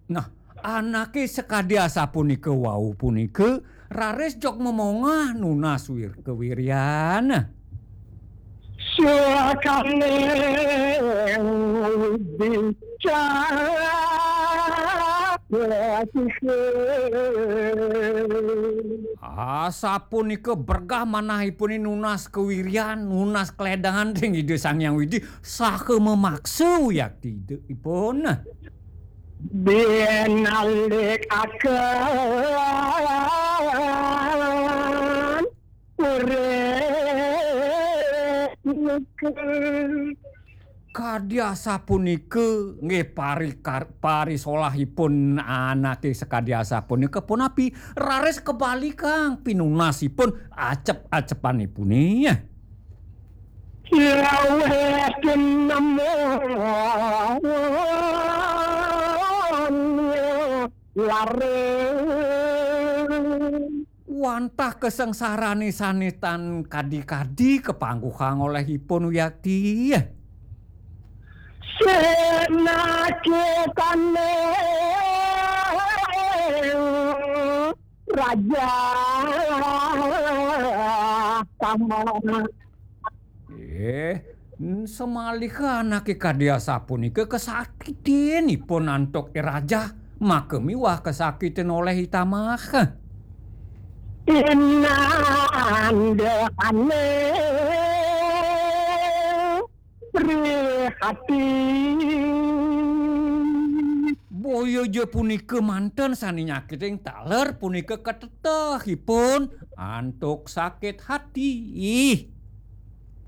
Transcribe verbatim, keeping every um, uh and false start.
Nah, anake sakadi asapunika wau punika raris jog momongah nunas wir-, kawiryan. Suakane wibicara. Asapunika bergah manahipune nunas kawiryan, nunas kledangan ring Ida Sang Hyang Widi, saha mamaksa wiakti Ida ipun. Binalik akan punika. Kadi asapunika nggih parikar-, parisolahipun anake sakadi asapunika punapi raris kebalikang pinunasipun acep-acepanipune. Laweh tinemu larang. Wantah kasangsarane sane tan kadi-kadi kapangguhang olehipun wiakti. Senakitane raja sama. Eh, n-, samaliha anake kadi asapunika kasakitin ipun antuk I Rajah, maka miwah kasakitin oleh I Tamah. Inandane prihatin. Boya ja punika manten sane nyakiting taler punika katetehipun antuk sakit hati. Ih,